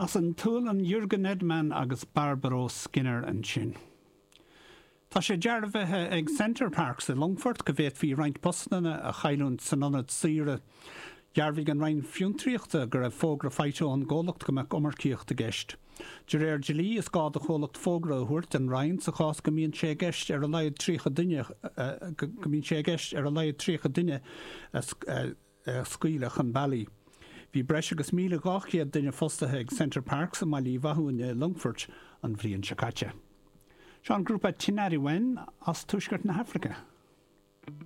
As an tSualainn Jörgen Edman agus Barbro Skinner ansin. Tá sé dearbhaithe ag Center Parcs i Longfort go bhféadfaí roinnt postanna a chailliúint san ionad saoire. Dhearbhaigh an Roinn Fiontraíochta go raibh fógra faighte ón gcomhlacht go mbeadh iomarcaíocht i gceist. De réir dlí, is gá do chomhlacht fógra a thabhairt don Roinn sa chás go mbíonn sé i gceist ar a laghad 30 duine go mbíonn sé i gceist ar a laghad 30 duine a a scaoileadh chun bealaigh. Bhí breis agus 1,200 duine fostaithe ag Center Parcs i mBaile Uí Mhathúin i Longfoirt an bhliain seo caite. Seo an grúpa Tinariwen as Tuaisceart na hAfraice.